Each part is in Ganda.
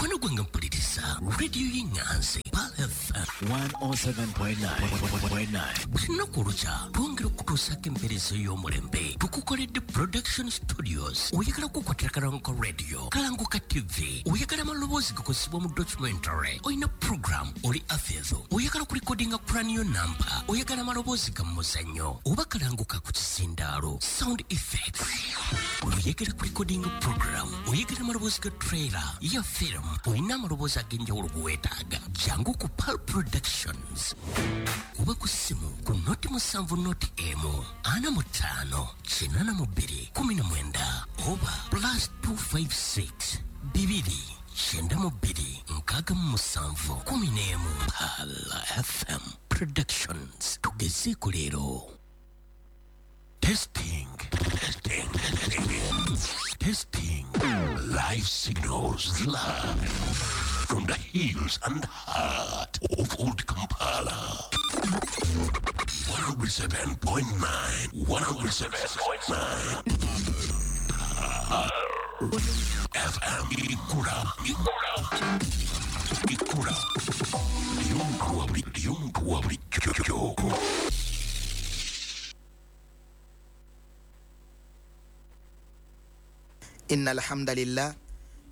Mukwano gwange mpuliriza rediyo y'Eŋŋanzi Pearl FM 107.9. Buli lunaku olukya twongera okutuusaako empeereza ey'omulembe. Tukukoledde Production Studios. Oyagala kukwatira Kalanguka Radio, Kalanguka TV, oyagala amaloboozi gakozesebwa mu documentary, olina program, oli afezo, oyagala kulikodinga cranial number, oyagala amaloboozi ga muzannyo oba kalanguka ku kisindaalo, sound effects, oyagala kulikodinga program, oyagala amaloboozi ga trailer ya film, olina amaloboozi ag'enjawulo geweetaaga, jangu ku Pearl Productions oba ku ssimu ku 070 45 82 19 oba +256 2 92 67 11. Pearl FM Productions, tugezeeko leero. Testing, testing, testing, testing. Live signals live from the hills and heart of Old Kampala. 107.9, 107.9. FM Ikura, Ikura, Ikura. Y'omuntu wa bulijjo. إن الحمد لله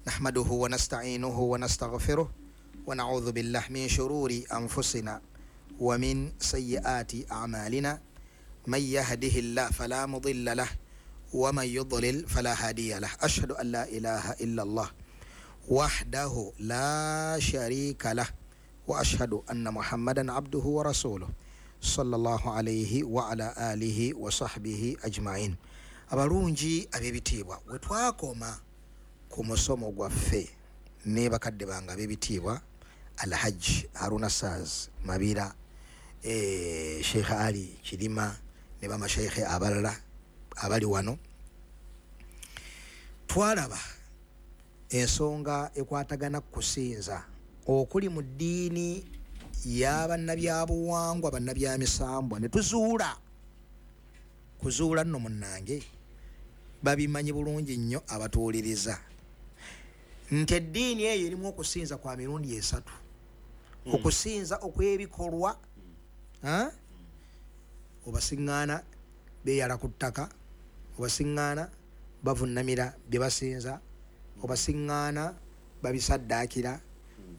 نحمده ونستعينه ونستغفره ونعوذ بالله من شرور أنفسنا ومن سيئات أعمالنا، من يهده الله فلا مضل له ومن يضلل فلا هادي له، أشهد أن لا إله إلا الله وحده لا شريك له، وأشهد أن محمدا عبده ورسوله صلى الله عليه وعلى آله وصحبه أجمعين. Abalungi ab'ebitiibwa, we twakoma ku musomo gwaffe ne bakadde bange ab'ebitiibwa Alhaji Haruna Saz Mabira, Sheikh Ali Kirima ne bamasheikhe abalala abali wano, twalaba ensonga ekwatagana ku kusinza okuli mu ddiini y'abannabyabuwangwa, bannabyamisambwa, ne tuzuula kuzuula nno munnange babimanyi bulungi nnyo abatuwuliriza nti eddiini eyo erimu okusinza kwa mirundi esatu. Okusinza okw'ebikolwa, obasiŋŋaana beeyala ku ttaka, obasiŋŋaana bavunnamira bye basinza, obasiŋŋaana babisaddaakira,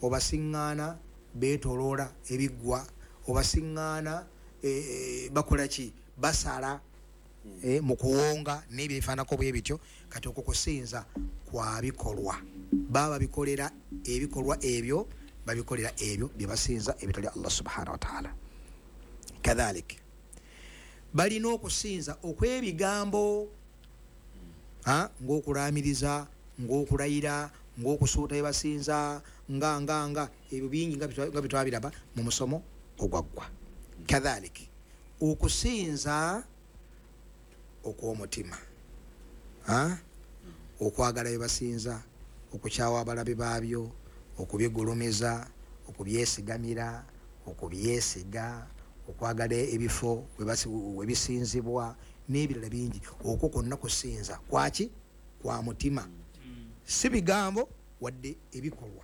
obasiŋŋaana beetoloola ebiggwa, obasiŋŋaana bakola ki, basala mu kuwonga n'ebyo ebifaananako bwe bityo. Kati okwo kusinza kwa bikolwa, baba babikolera ebikolwa ebyo, babikolera ebyo bye basinza ebitali Allah subhanahu wa ta'ala. Kadhalik balina okusinza okw'ebigambo, ng'okulaamiriza, ng'okulayira, ng'okusuuta bye basinza, nga nga nga ebyo bingi nga bitwabiraba mu musomo ogwaggwa. Kadhalik okusinza okw'omutima, okwagala bye basinza, okukyawa abalabe baabyo, okubigulumiza, okubyesigamira, okubyesiga, okwagala ebifo we bisinzibwa n'ebirala bingi. Okwo kwonna kusinza kwaki? Kwa mutima, si bigambo wadde ebikolwa.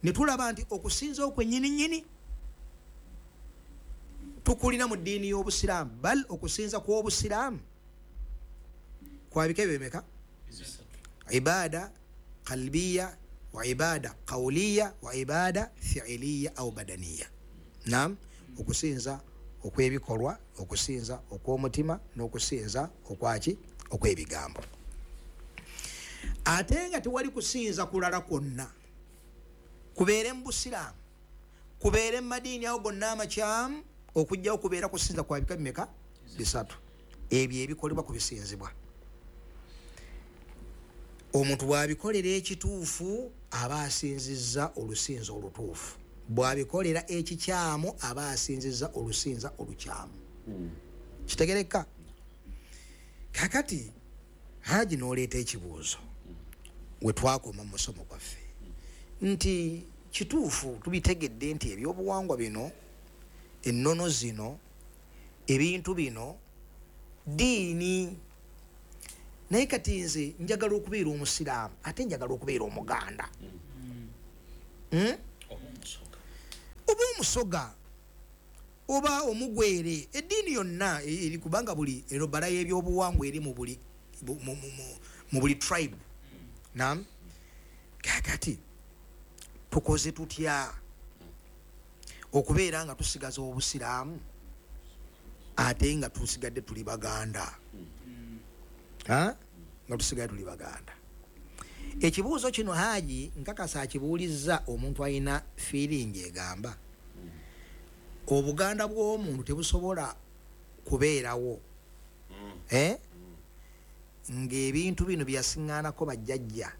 Ne tulaba nti okusinza okwennyininyini tukulina mu ddiini y'Obusiraamu, bal okusinza kw'Obusiraamu kwabika bimeka? Ibada qalbiya wa ibada qawliya wa ibada fi'liya au badaniya. Naam, okusinza okwebikolwa, okusinza okw'omutima n'okusinza okwaki? Okw'ebigambo. Ate nga tewali kusinza kulala kwonna kubeere mu Busiraamu, kubeere mu madiini awo gonna amakyamu, okujjawo kubeera kusinza kwa bika bimeka? Bisatu. Ebyo ebikolebwa ku bisinzibwa. Omuntu bw'abikolera ekituufu aba asinzizza olusinza olutuufu, bw'abikolera ekikyamu aba asinzizza olusinza olukyamu. Kitegereka? Kakati Haji n'oleeta ekibuuzo we twakoma mu musomo gwaffe nti kituufu tubitegedde nti ebyobuwangwa bino, ennono zino, ebintu bino ddiini, naye kati nze njagala okubeera omusiraamu ate njagala okubeera omuganda. Oba omusoga oba omugwere, eddiini yonna eri, kubanga buli erobala y'ebyobuwangwa eri mu buli tribe. Nam kakati tukoze tutya okubeera nga tusigaza obusiraamu ate nga tusigadde tuli baganda? Nga tusigadde tuli baganda. Ekibuuzo kino Haji nkakasa akibuulizza omuntu alina feeling egamba obuganda bw'omuntu tebusobola kubeerawo ng'ebintu bino byasiŋŋaanako bajjajja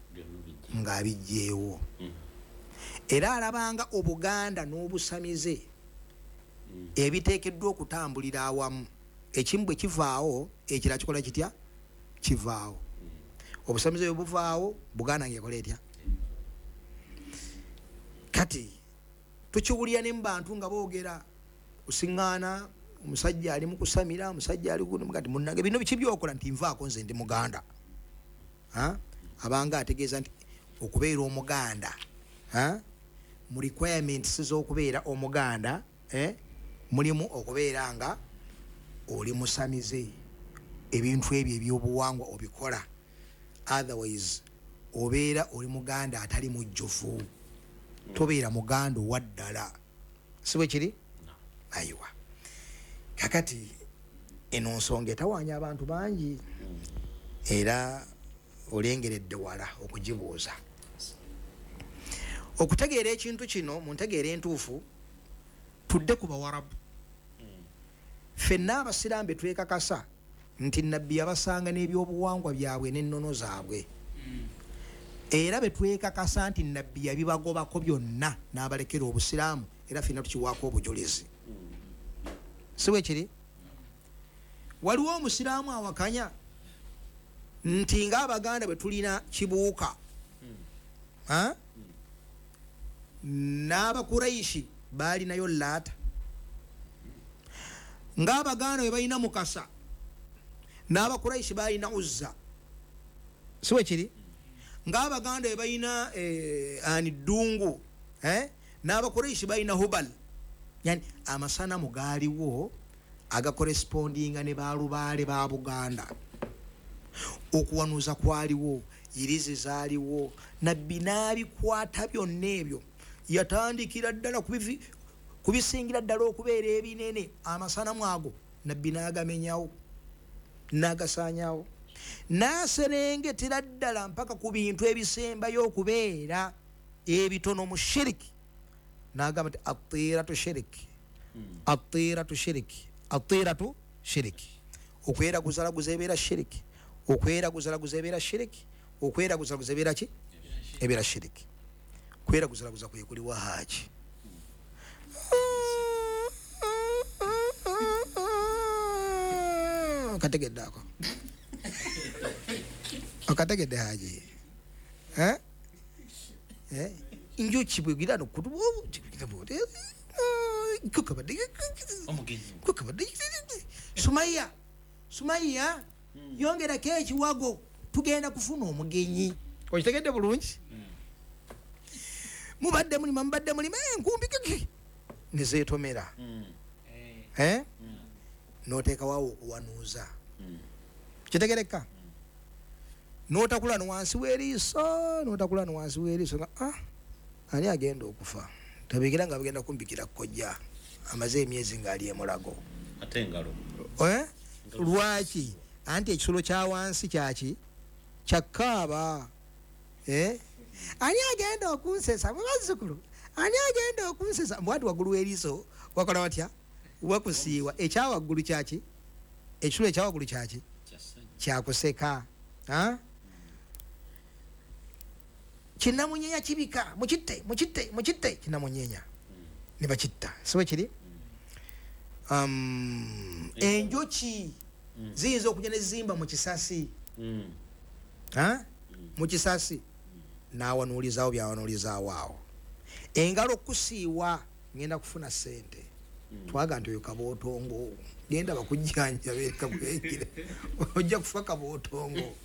ng'abijjeewo. Era alabanga obuganda n'obusamize ebiteekeddwa okutambulira awamu, ekimu bwe kivaawo ekirala kikola kitya? Kivaawo. Obusamize bwe buvaawo, Buganda ng'ekola etya? Kati tukiwulira ne mu bantu nga boogera kusiŋŋaana, omusajja ali mu kusamira, omusajja ali kati munnange bino biki byokola? Nti nvaako nze ndi muganda. Abanga ategeeza nti okubeera omuganda, mu requirements z'okubeera omuganda, mulimu okubeera nga oli musamize, ebintu ebyo ebyobuwangwa obikola, otherwise obeera oli muganda atali mujjuvu, tobeera muganda owa ddala. Si bwe kiri? Ayiwa. Kakati eno nsonga etawaanya abantu bangi, era olengeredde wala okugibuuza. Okutegeera ekintu kino mu ntegeera entuufu, tudde ku Bawarabu. Ffenna abasiraamu be twekakasa nti Nabbi yabasanga n'ebyobuwangwa byabwe n'ennono zaabwe, era be twekakasa nti Nabbi yabibagobako byonna n'abalekera obusiraamu, era ffenna tukiwaako obujulizi. Si bwe kiri? Waliwo omusiraamu awakanya nti ng'Abaganda bwe tulina kibuuka, n'Abakuraishi baalinayo Laata, ng'Abaganda bwe balina Mukasa n'Abakuraishi balina Uzza. Si bwe kiri? Ng'Abaganda bwe balina ani Ddungu, n'Abakuraishi balina Hubal. Yani amasanamu gaaliwo agakorespondinga ne balubaale ba Buganda. Okuwanuuza kwaliwo, yirizi zaaliwo, Nabbi n'abikwata byonna ebyo. Yatandikira ddala kubisingira ddala okubeera ebinene, amasanamu ago Nabbi n'agamenyawo n'agasaanyawo, n'aserengetera ddala mpaka ku bintu ebisembayo okubeera ebitono mu shiriki, n'agamba nti atiiratu shiriki, atiiratu shiriki, atiiratu shiriki. Okweraguzalaguza ebeera shiriki, okweraguzalaguza ebeera shiriki, okweraguzalaguza ebeera ki? Ebeera shiriki. Kweraguzalaguza kwe kuli wa Haji. Okategedde ako? Okategedde Haji? Njuki bwegira Sumaiya, Sumaiya, yongerako ekiwago, tugenda kufuna omugenyi. Okitegedde bulungi? Mubadde mulima, mubadde mulima, enkumbi kiki nezeetomera, n'oteekawo okuwanuuza. Kitegereka? N'otakula no wansi w'eriiso, n'otakula no wansi w'eriiso nga ani agenda okufa? Tabikira nga bagenda kumbikira kojja amaze emyezi ng'ali emulago. Ate engalo. Lwaki? Anti ekisulo kya wansi kyaki? Kyakaaba. Ani agenda okunsesa? Mwe bazzukulu, ani agenda okunsesa? Mbwati waggulu w'eriiso wakola watya? Wakusiiwa. Ekyawaggulu kyaki? Ekisulo ekyawaggulu kyaki? Kyakuseka. Kinamunyenya kibika, mukitte, mukitte, mukitte, kinamunyenya ne bakitta. Si bwe kiri? Enjoki ziyinza okujja ne zimba mu kisasi, mu kisasi n'awanuulizaawo by'awanuulizaawo awo. Engalo okusiiwa, ngenda kufuna ssente. Twaga nti oyo kabootongo, genda bakujjanjabe kakwekire, ojja kufa kabootongo,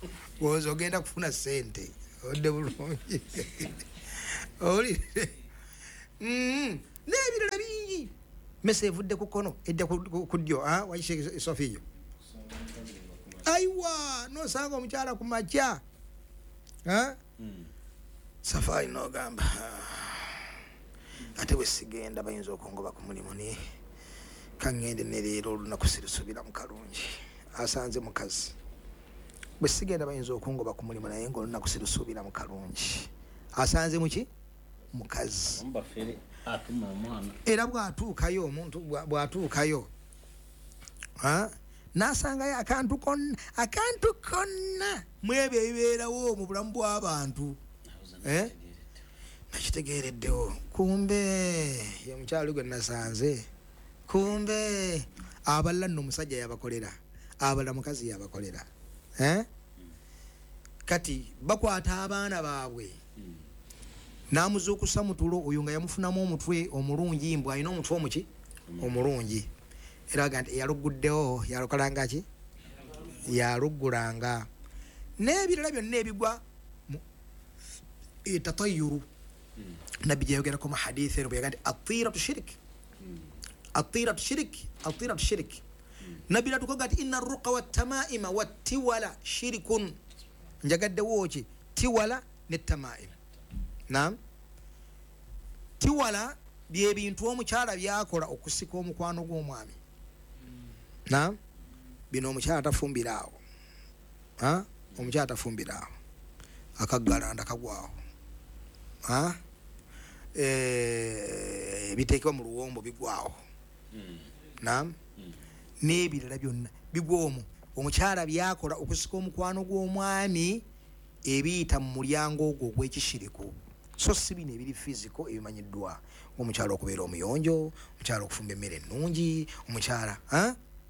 oza ogenda kufuna ssente. Odde bulungi. Owulire? N'ebirala bingi. Mese evudde ku kkono edda ku ddyo, waishe Sofiyo. Aiwa, nosanga omukyala ku makya. Safari n'ogamba ate bwe sigenda bayinza okungoba ku mulimu, naye kaŋŋende ne leero olunaku sirusubira mu kalungi. Asanze mukazi. Bwe sigenda bayinza okungoba ku mulimu, naye ng'olunaku sirusuubira mu kalungi. Asanze muki? Mukazi. Era bw'atuukayo omuntu bw'atuukayo n'asangayo akantu konna mwebyo ebibeerawo mu bulamu bw'abantu. Nakitegeereddewo kumbe ye mukyalo gwe nasanze, kumbe abalala nno omusajja yabakolera, abalala mukazi yabakolera. Kati bakwata abaana baabwe n'amuzuukusa mu tulo, oyo nga yamufunamu omutwe omulungi, mbw alina omutwe omuki omulungi, era aga nti eyaluguddewo yalukolanga ki? Yaluggulanga. N'ebirala byonna ebigwa tatayuru. Nabbi gyeyogerako mu hadithi eno bwe yaga nti atiiratu shirik, atiiratu shirik, atiiratu shirik. Nabbi natukoga nti inna ruqa wattamaima wattiwala shirikun. Njagaddewo ki? Tiwala ne tamaima. Naam, tiwala byebintu omukyala byakola okusika omukwano gw'omwami. Naam, bino omukyala tafumbira awo. Omukyala tafumbira awo, akaggalanda kagwawo, ebiteekebwa mu luwombo bigwawo. Naam, n'ebirala byonna bigwa omwo. Omukyala byakola okusika omukwano gw'omwami ebiyita mu mulyango ogwo ogw'ekishiriku. So si bino ebiri physical ebimanyiddwa, omukyala okubeera omuyonjo, omukyala okufumba emmere ennungi, omukyala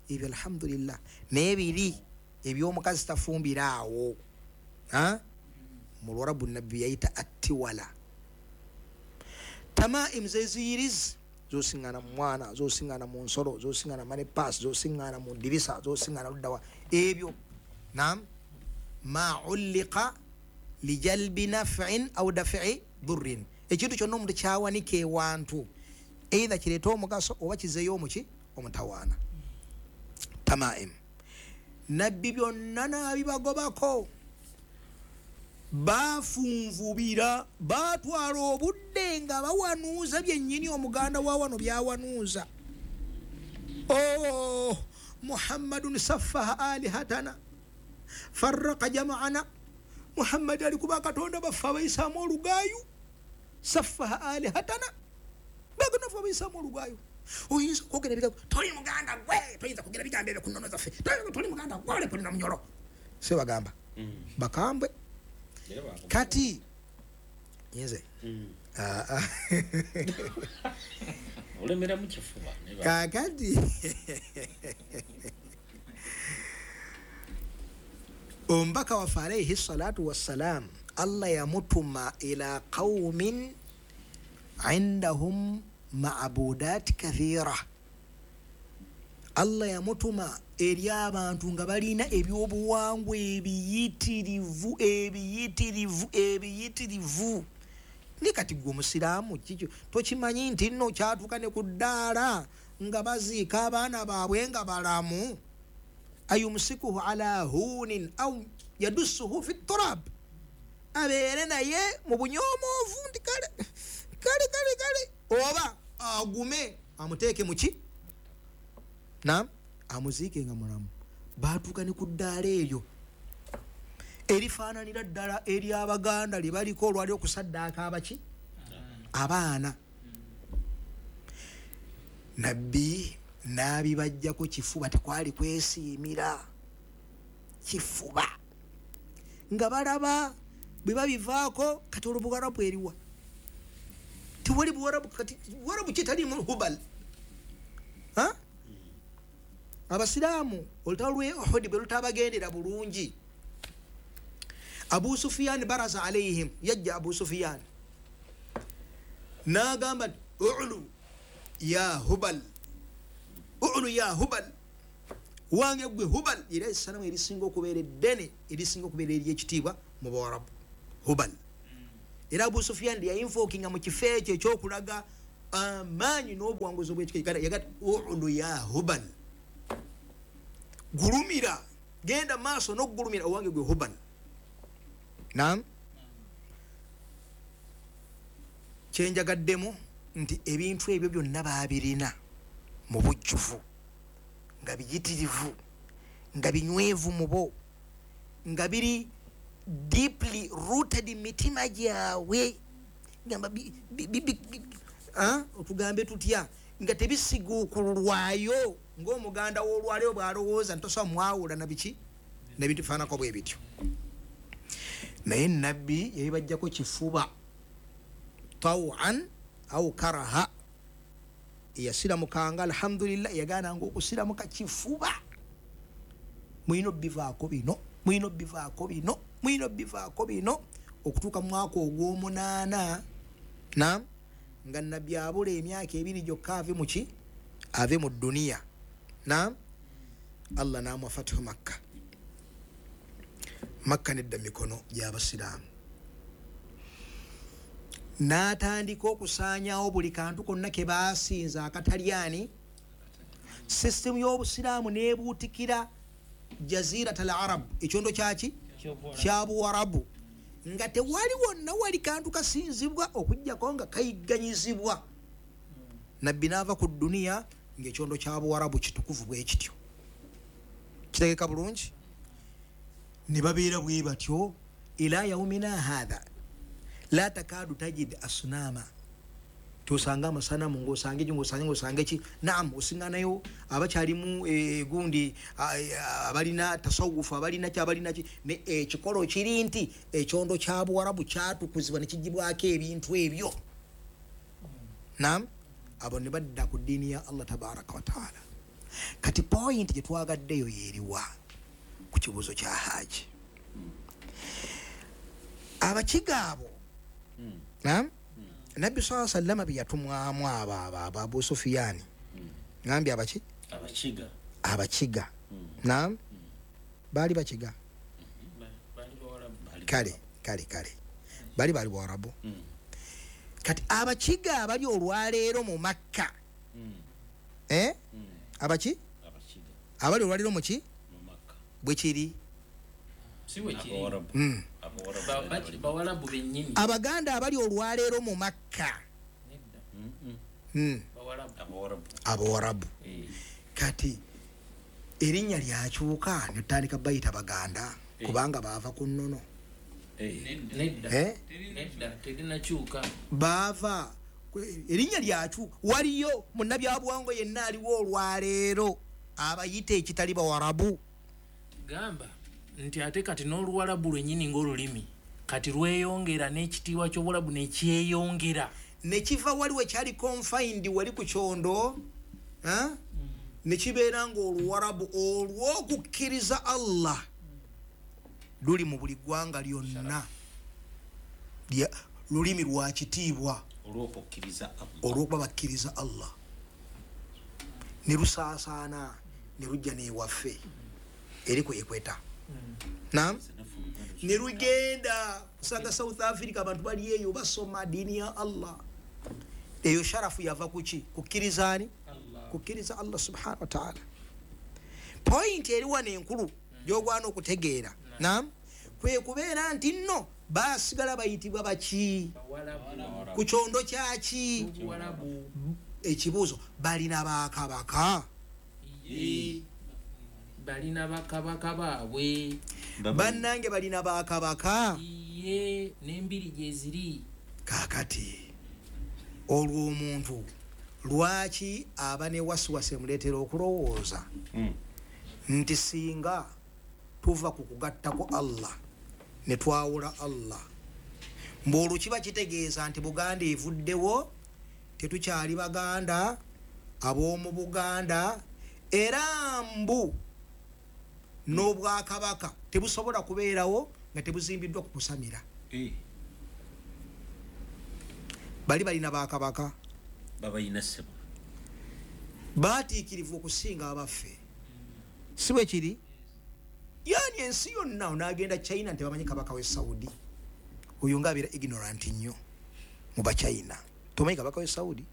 ebyo alhamdulillah. Naye biri eby'omukazi tafumbira awo. Mu Luwarabu nabbi yayita attiwala. Tamaim zeziyirizi zosiŋŋana mu mwana, zosiŋŋana mu nsolo, zosiŋŋana money pass, zosiŋŋana mu dirisa, zosiŋŋana luddawa ebyo. Naam, ma ulliqa lijalbi naf'in aw daf'i durrin. Ekintu kyonna omuntu kyawanika ewantu, either kireeta omugaso oba kizeeyo omuki omutawaana. Tamaim nabbi byonna n'abibagobako. Bafunvubira, batwala obudde nga bawanuuza byennyini omuganda wa wano byawanuuza. Oh, Muhammadun saffaha alihatana farraqa jama'ana. Muhammad ali kuba katonda baffe abayisaamu olugaayu. Saffaha alihatana, bagenda ffe abayisaamu olugaayu. Oyinza okwogera ebigambo, toli muganda gwe, toyinza kwogera bigambo ebyo ku nnono zaffe, toli muganda gwe, ole kulina munyolo. Si bagamba bakambwe. Kati nze olemera mu kifuba. Kakati omubaka waffe alayhi salatu wassalam, Allah yamutuma ila qaumin indahum ma'budat kathira. Allah yamutuma eri abantu nga balina ebyobuwangwa ebiyitirivu ebiyitirivu ebiyitirivu. Ni kati gwe omusiraamu kikyo tokimanyi nti nno kyatuuka ne ku ddaala nga baziika abaana baabwe nga balamu. Ayumsikuhu ala hunin au yadussuhu fi turab, abeere naye mu bunyomoovu nti kale kale kale kale, oba agume amuteeke muki na amuziike nga mulamu. Batuuka ne ku ddaala eryo erifaananira ddala eri Abaganda lye baliko olwali okusaddaaka abaki abaana. Nabbi n'abibajjako kifuba, tekwali kwesiimira kifuba, nga balaba bwe babivaako. Kati olwo Buwarabu eriwa? Tewali Buwarabu. Kati Buwarabu kitalimu Hubal. Abasiraamu olutalo lw'e Uhud bwe lutabagendera bulungi, Abu Sufyan baraza alayhim, yajja Abu Sufyan n'agamba nti ulu ya Hubal, ulu ya Hubal, wange gwe Hubal. Era essanamu erisinga okubeera eddene, erisinga okubeera ery'ekitiibwa mu Bawarabu, Hubal. Era Abu Sufyan yayinfookinga mu kifo ekyo ekyokulaga Amaanyi n'obuwanguzi obw'ekika yagati ulu ya Hubal, gulumira, genda maaso n'okugulumira owange gwe Hubal. Naam, kyenjagaddemu nti ebintu ebyo byonna baabirina mu bujjuvu, nga biyitirivu, nga binywevu mu bo, nga biri deeply rooted mitima gyabwe. Gamba otugambe tutya nga tebisiguukululwayo ng'omuganda w'olwaleero bw'alowooza ntosobola mwawula na biki n'ebintu bifaananako bwe bityo. Naye nabbi yabibajjako kifuba tawan au karaha, yasiramukanga alhamdulillah, yagaananga okusiramuka kifuba. Mulina obivaako bino, mulina obivaako bino, mulina obivaako bino, okutuuka mu mwaka ogw'omunaana. Naam, nga nabbi abula emyaka 2 gyokka ave mu ki, ave mu dduniya. Naam, Allah n'amuwa fatihu Makka. Makka nedda mikono gy'abasiraamu, n'atandika okusaanyaawo buli kantu konna ke baasinza akatalyani. Sisitemu y'obusiraamu n'ebuutikira Jazirat al Arab, ekyondo kyaki kya Buwarabu, nga tewali wonna wali kantu kasinzibwa okuggyako nga kayigganyizibwa. Nabbi n'ava ku dduniya ng'ekyondo kya Buwarabu kitukuvu bwe kityo. Kitegeka bulungi? Ne babeera bwe batyo ila yaumina hatha la takadu tajid asnama, tosanga amasanamu ng'osanga eki ng'osanga ng'osanga eki. Naam, osinganayo abakyalimu gundi abalina tasawufu, abalina ki abalina ki, ne ekikolo kiri nti ekyondo kya Buwarabu kyatukuzibwa ne kigibwako ebintu ebyo. Naam, abo ne badda ku ddiini ya Allah tabaraka wa taala. Kati point gye twagaddeyo yeeriwa ku kibuuzo kya Haji. Abakiga abo, naam, Nabbi sallallahu alaihi wasallam bye yatumwamu abo Abu Sufiyani, ngambye abaki abakiga, abakiga. Naam, baali bakiga, kale kale kale bali bali Buwarabu. Kati abakiga abali olwaleero mu Makka, abaki abali olwaleero mu ki bwe kiri, Abaganda abali olwaleero mu Makka, Abawarabu. Kati erinnya lyakyuka ne tutandika bayita Baganda kubanga baava ku nnono. Baava erinnya lyakyuka. Waliyo munnabyabuwangwa yenna aliwo olwaleero abayita ekitali Bawarabu. Gamba nti ate kati n'oluwarabu lwennyini ng'olulimi kati lweyongera n'ekitiibwa ky'obuwarabu nekyeyongera, nekiva wali wekyali confined wali ku kyondo, nekibeera ng'oluwarabu olw'okukkiriza Allah luli mu buli ggwanga lyonna, lulimi lwa kitiibwa olw'okuba bakkiriza Allah, ne lusaasaana ne lujja n'ewaffe eri ku ekweta. Naam, ne lugenda kusanga South Africa, abantu bali eyo basoma ddiini ya Allah. Eyo sharafu yava kuki? Kukkirizaani? Kukkiriza Allah subhanahu wa ta'ala. Point eri wano enkulu gy'ogwana okutegeera, naam, kwe kubeera nti nno baasigala bayitibwa baki ku kyondo kyaki? Ekibuuzo, balina bakabaka? Balina bakabaka baabwe. Bannange balina bakabaka n'embiri gye ziri. Kaakati olwo omuntu lwaki aba ne wasiwasi emuleetera okulowooza nti singa tuva ku kugattako Allah ne twawula Allah, mbu olwo kiba kitegeeza nti Buganda evuddewo, tetukyali Baganda ab'omu Buganda, era mbu n'obwakabaka tebusobola kubeerawo nga tebuzimbiddwa ku kusamira. Bali balina bakabaka babalina ssebo, baatiikirivu okusinga abaffe, si bwe kiri? Yani ensi yonna onaagenda China nti bamanyi kabaka w'e Saudi, oyo ng'abeera ignorant nnyo mu Bachina, tomanyi kabaka w'e Saudi.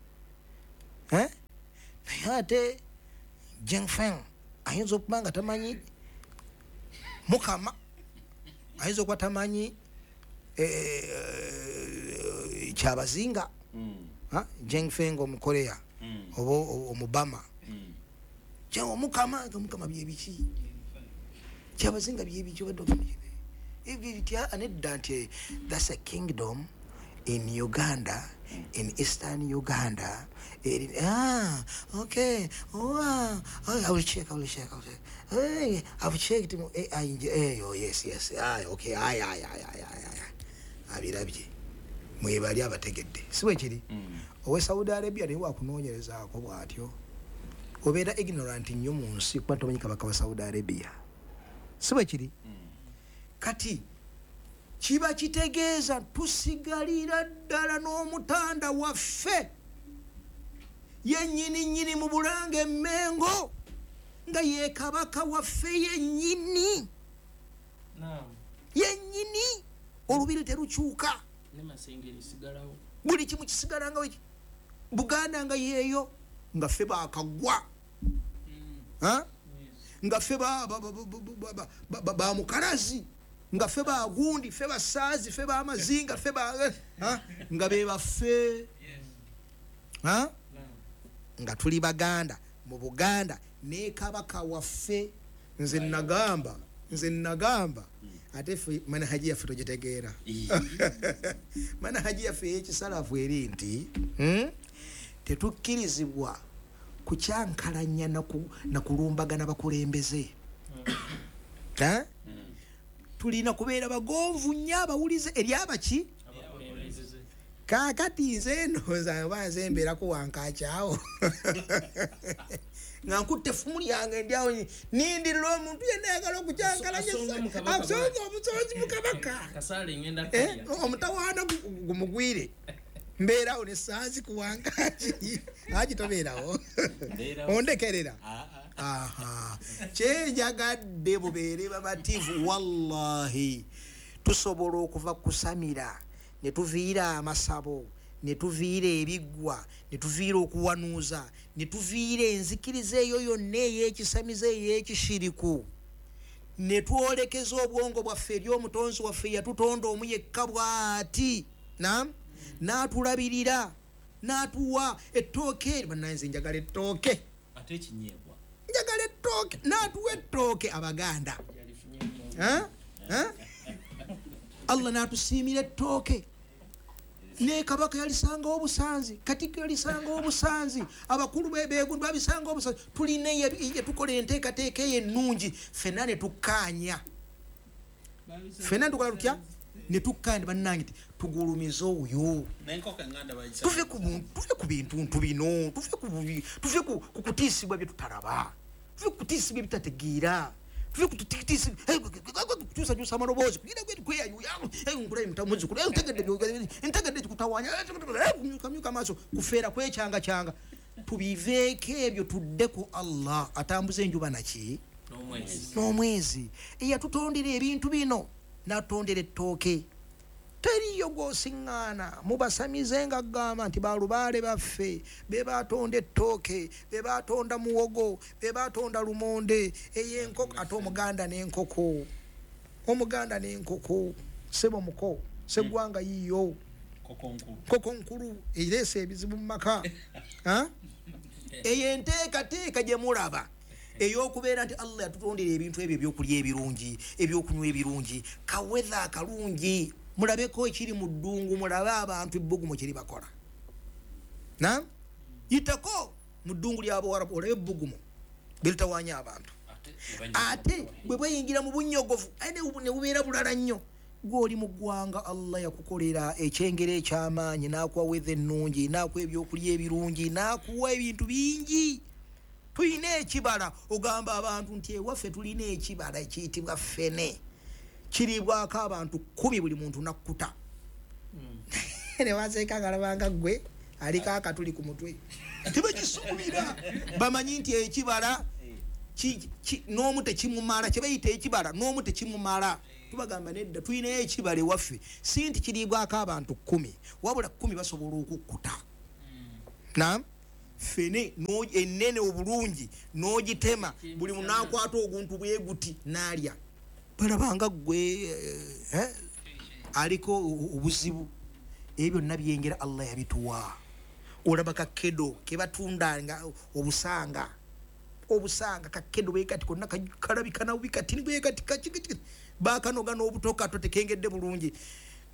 Naye ate Jengfeng ayinza okuba nga tamanyi mukama, ayinza okuba tamanyi kyabazinga. Jengfeng omukorea oba omubama, omukama nga mukama byebiki, kyabazinga byebiki, nedda nti that's a kingdom in Uganda, in Eastern Uganda. Okay. Oh, I will check. Hey, I've checked. Oh, yes. Okay. Aye. Abirabye. Mwebali abategedde. Si bwe kiri? Owe Saudi Arabia naye wakunoonyerezaako bw'atyo. Obeera ignorant nnyo mu nsi kuba tomanyi kabaka wa Saudi Arabia. Si bwe kiri? Kati kiba kitegeeza tusigalira ddala n'omutanda waffe yennyini nnyini mu Bulange Emmengo, nga ye kabaka waffe yennyini. Yennyini olubiri terukyuka, buli kimu kisigala nga Buganda nga yeeyo, nga ffe baakagwa, nga ffe bamukalazi, nga ffe bagundi, ffe basaazi, ffe bamazinga, ffe nga be baffe, nga tuli Baganda mu Buganda ne kabaka waffe. Nze nagamba ate ffe manhaji yaffe togitegeera. Manhaji yaffe ey'ekisalafu eri nti tetukkirizibwa kukyankalanya na kulumbagana bakulembeze. Tulina kubeera bagonvu nnyo, abawulize eri abaki. Kaakati nze ndowooza oba nze mbeerako wankakyawo nga nkutte effumu lyange ndi awo nindirira omuntu yenna ayagala okukyankalanya asonga omusonzi mu kabaka, omutawaana gumugwire. Mbeerawo ne saazi ku wankaki agi tobeerawo ondekerera. Kyenjagadde bubeere babativu. Wallahi tusobola okuva kusamira ne tuviira amasabo, ne tuviira ebiggwa, ne tuviira okuwanuuza, ne tuviira enzikiriza eyo yonna ey'ekisamize ey'ekishiriku, ne twolekeza obwongo bwaffe eri omutonzi waffe yatutonda omu yekka bw'ati, n'atulabirira n'atuwa ettooke. Bannange njagala ettooke, njagala ettooke, n'atuwa ettooke Abaganda. Allah n'atusiimira ettooke. Ne kabaka yalisangawo obusanzi, Katikkiro yalisangawo obusanzi, abakulu beegundu babisangawo obusanzi. Tulina tukola enteekateeka eyo ennungi, ffenna ne tukkaanya. Ffenna tukola tutya? Ne tukkaanya bannange tugulumize oyo. Tuve ku bintu bino, tuve ku kutiisibwa bye tutalaba, tuve ku kutiisibwa ebitategeera, tuve ku kukyusakyusa amaloboozi, ntegedde kikutawaanya, myuka amaaso, kufeera kwekyangakyanga. Tubiveeko ebyo tudde ku Allah atambuza enjuba naki n'omwezi, eyatutondera ebintu bino, n'atutondera ettooke. Teriyo gw'osiŋŋaana mubasamize nga gamba nti balubaale baffe be batonda ettooke, be batonda muwogo, be batonda lumonde, ey'enkoko. Ate Omuganda n'enkoko, Omuganda n'enkoko, ssebo muko, sseggwanga yiyo, nkoko nkulu ereese ebizibu mu maka. Eyo enteekateeka gye mulaba ey'okubeera nti Allah yatutondera ebintu ebyo, ebyokulya ebirungi, ebyokunywa ebirungi, kawetha akalungi. Mulabeko ekiri mu ddungu, mulabe abantu ebbugumu kiri bakola. Na yitako mu ddungu ly'Abawarabu olabe ebbugumu biritawaanya abantu. Ate bwe bweyingira mu bunnyogovu ne bubeera bulala nnyo. Gw'oli mu ggwanga Allah yakukolera ekyengera eky'amaanyi, n'akuwa weather ennungi, n'akuwa ebyokulya ebirungi, n'akuwa ebintu bingi. Tulina ekibala, ogamba abantu nti ewaffe tulina ekibala ekiyitibwa ffene, kiribwako abantu 10 buli muntu nakkuta. Ne baseeka ngalabanga ggwe aliko akatuli ku mutwe. Tebakisuubira, bamanyi nti ekibala n'omu tekimumala, kye bayita ekibala n'omu tekimumala. Tubagamba nedda, tulinayo ekibala ewaffe, si nti kiribwako abantu 10, wabula 10 basobola okukkuta. Naam, Fene ennene obulungi n'ogitema, buli munaakwata oguntu bwe guti n'alya. Balabanga ggwe aliko obuzibu. Ebyo byonna byengera Allah yabituwa. Olaba kakedo kebatundanga obusanga, obusanga kakedo bwe kati konna kalabika na bubi kati bwe kati kati bakanoga n'obutoka totekengedde bulungi.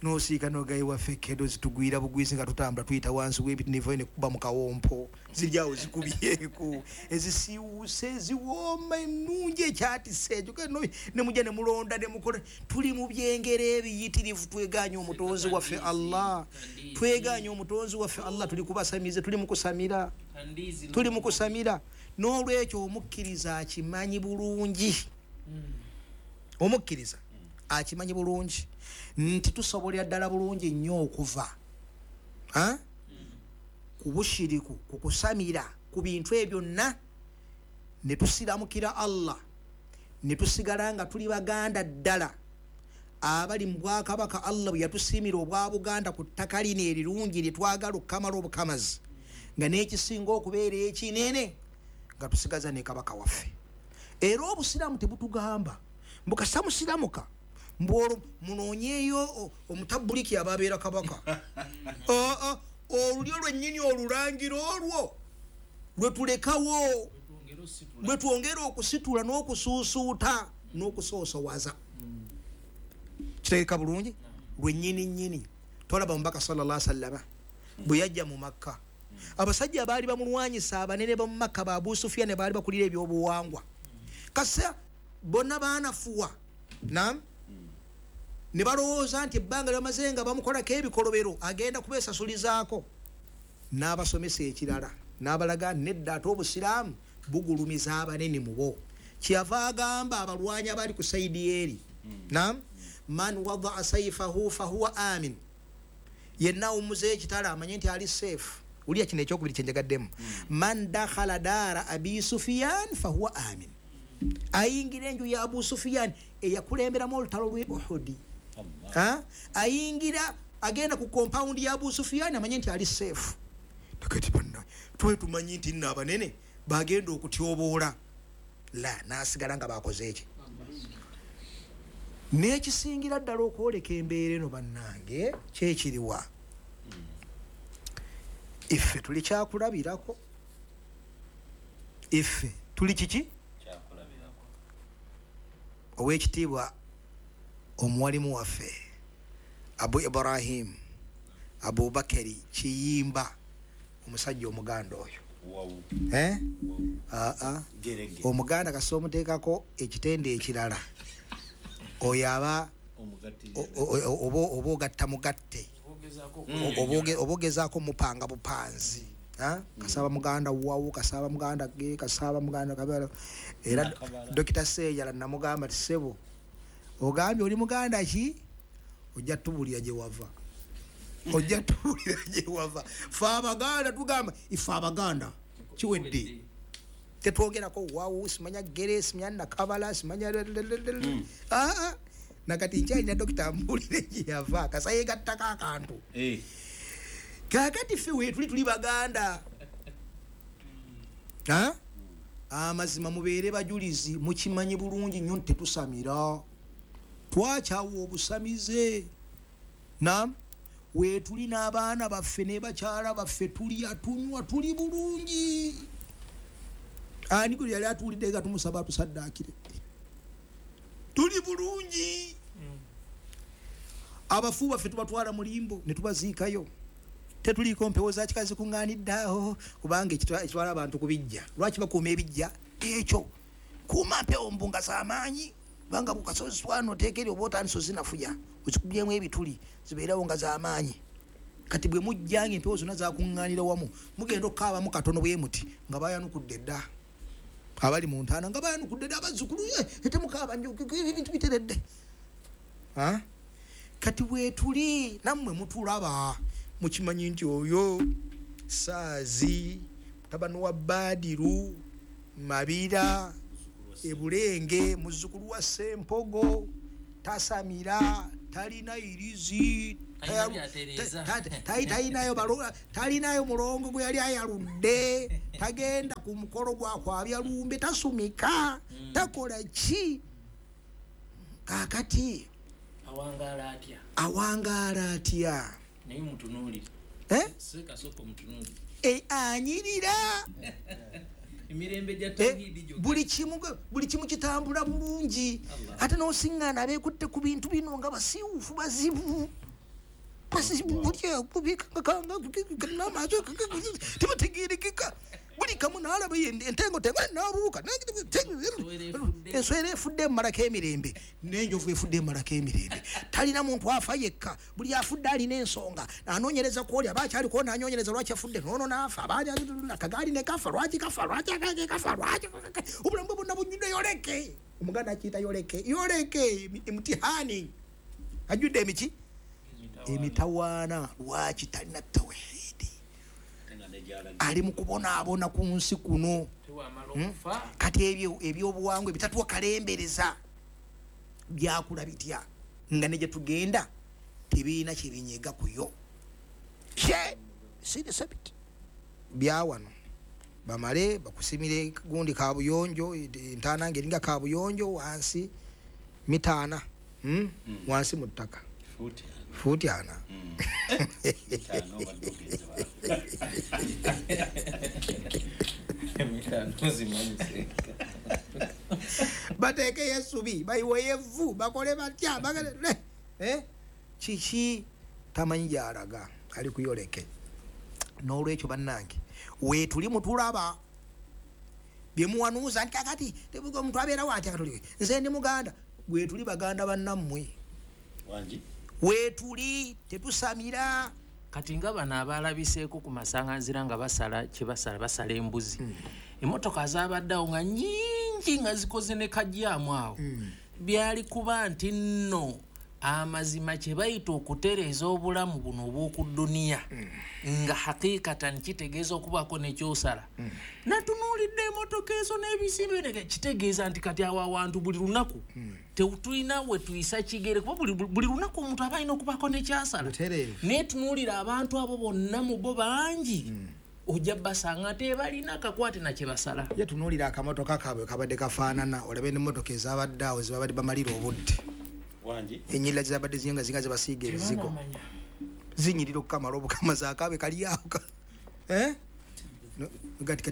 Nosiika nogayi waffe kedo zitugwira bugwizi nga tutambula tuyita wansi w'ebiti nevayo ne kuba mu kawompo, ziryawo zikubyeku ezisiiwuuse eziwooma ennungi ekyatisa ekyo ne mujja ne mulonda ne mukola. Tuli mu byengera ebiyitirivu, twegaanye omutonzi waffe Allah, twegaanye omutonzi waffe Allah. Tuli kubasamize, tuli mu kusamira, tuli mu kusamira. N'olwekyo omukkiriza akimanyi bulungi, omukkiriza akimanyi bulungi nti tusobolera ddala bulungi nnyo okuva ku bushiriku, ku kusamira, ku bintu ebyo byonna, ne tusiramukira Allah, ne tusigala nga tuli baganda ddala abali mu bwakabaka Allah bwe yatusiimira obwa Buganda ku ttaka lino erirungi lye twagala okukamala obukamazi, nga n'ekisinga okubeera ekinene nga tusigaza ne kabaka waffe. Era obusiraamu tebutugamba mbu kasita musiramuka mbwolwo munoonyeeyo omutabuliki ababeera kabaka. Olulyo lwennyini olulangira olwo lwe tulekawo, lwe twongera okusitula n'okusuusuuta n'okusoosowaza. Kitegeeka bulungi lwennyini nnyini. Tolaba Omubaka sallallahu alaihi wasallama bwe yajja mu Makka, abasajja abaali bamulwanyisa abanene ba mu Makka ba Abu Sufyan baali bakulira ebyobuwangwa, kasa bonna baanafuwa nam ne balowooza nti ebbanga lyamaze nga bamukolako ebikolobero agenda kubeesasulizaako. N'abasomesa ekirala n'abalaga nedda, ate obusiraamu bugulumiza abanene mu bo. Kyeyava agamba abalwanyi abali ku sayidi eri, nam man wadaa saifahu fahuwa amin, yenna awummuza ekitala amanye nti ali safe. Wulira kino ekyokubiri kyenjagaddemu, man dakhala daara abi Sufyan fahuwa amin, ayingira enju ya Abu Sufyan eyakulemberamu olutalo lw'e Uhudi, ayingira agenda ku compound ya Abu Sufyan amanye nti ali safe. Takati banna tuwe tumanyi nti nno abanene bagenda okutyoboola, la n'asigala nga bakoze eki. N'ekisingira ddala okwoleka embeera eno bannange kyekiriwa, iffe tuli kyakulabirako, iffe tuli kiki? Owekitiibwa omuwalimu waffe Abu Ibrahim Abubakari Kiyimba, omusajja omuganda oyo, omuganda kasita omuteekako ekitende ekirala oyo aba oba ogatta mugatte, oba ogezaako mupanga bupanzi. Kasaba muganda wawu, kasaba muganda ge, kasaba muganda kabala. Era Dokita Sejala namugamba nti ssebo ogambye oli muganda ki, ojja tubulira gye wava, ojja tubulira gye wava. Fe abaganda tugamba ife abaganda kiwedde, tetwogerako wawu, simanya gere, simanya nakabala, simanya nakati nkyalina dokita ambuulire gye yava, kasa yegattako akantu. Kakati ffe weetuli tuli baganda. Amazima mubeere bajulizi, mukimanyi bulungi nnyo nti tetusamira, twakyawa obusamize. Nam weetuli n'abaana baffe ne bakyala baffe, tulya tunywa tuli bulungi. Ani gwe yali atuwulidde nga tumusaba atusaddaakire? Tuli bulungi. Abafu baffe tubatwala mu limbo ne tubaziikayo, tetuliiko mpewo za kika zikuŋŋaanidde awo, kubanga ekitwala abantu ku bijja. Lwaki bakuuma ebijja? Ekyo kuuma mpewo mbu nga z'amaanyi, kubanga bukasozi twano oteeka eri oba otandise ozinafuya, ozikubyemu ebituli zibeerawo nga z'amaanyi. Kati bwe mujja nga empewo zonna zakuŋŋaanira wamu, mugenda okukaabamu katono bwe muti nga bayanukudde dda, abali mu ntaana nga bayanukudde dda, abazzukulu temukaaba nnyo, ebintu biteredde. Kati weetuli nammwe mutulaba, mukimanyi nti oyo Saazi mutabani wa Baadiru Mabira Ebulenge, muzzukulu wa Ssempogo, tasamira, talina irizi, Talinayo mulongo gwe yali ayaludde, tagenda ku mukolo gwa kwabya lumbe, tasumika, takola ki. Kakati awangaala atya? Naye mutunuulire. Ssekasoko mutunuulire. Anyirira. Emirembe gya tawhidi gyokka. Buli kimu kitambula bulungi. Ate n'osiŋŋaana abeekutte ku bintu bino nga basiiwuufu bazibu. Tebategeerekeka. Buli kamu n'alaba entengo n'abuuka. Enswera efudde emumalako emirembe, n'enjovu efudde emumalako emirembe. Talina muntu afa yekka, buli afudde alina ensonga. Anoonyereza kwoli aba akyaliko n'anyoonyereza lwaki afudde, n'ono n'afa, akagaali ne kafa, lwaki kafa, lwaki akagaali kafa, lwaki obulamu bwe bwonna bujjudde yoleke. Omuganda akiyita yoleke, yoleke emutihani. Ajjudde emiki? Emitawaana. Lwaki talina tawhidi? Ali mu kubonaabona ku nsi kuno. Kati ebyo ebyobuwangwa ebitatuwa kalembereza byakula bitya nga ne gye tugenda tebirina kye binyega ku yo. Byawano bamale bakusimire gundi kabuyonjo, entaana ng'eringa kabuyonjo wansi mitaana, wansi mu ttaka fuuti ana. Bateekeyo essubi, bayiweyo evvu, bakole batya, kiki tamanyi gy'alaga, ali kuyoleke. N'olwekyo bannange weetuli mutulaba bye muwanuuza nti kakati omuntu abeerawo atya katuli nze ndi Muganda. Weetuli baganda bannammwe, weetuli tetusamira. Kati nga bano abalabiseeko ku masanganzira nga basala kye basala, basala embuzi. Emmotoka zaabaddeawo nga nnyingi nga zikoze ne kajjaamu awo. Byali kuba nti nno amazima kye bayita okutereeza obulamu buno obw'oku dduniya nga hakikatan kitegeeza okubaako n'ekyosala. Natunuulidde emmotoka ezo n'ebizimbe, kitegeeza nti kati awo awantu buli lunaku tetulina we tuyisa kigere, kuba buli lunaku omuntu aba alina okubaako n'ekyasala. Naye tunuulira abantu abo bonna mu bo bangi ojja basanga tebalina kakwate na kye basala. Ye tunuulira akamotoka kaabwe kabadde kafaanana, olabe n'emmotoka ezabadde awo zebabadde bamalira obudde. Enyirira zibadde zinga zinga zebasiiga ebizigo zinyirira okukamala obukamazi akaabwe kali awo. Kati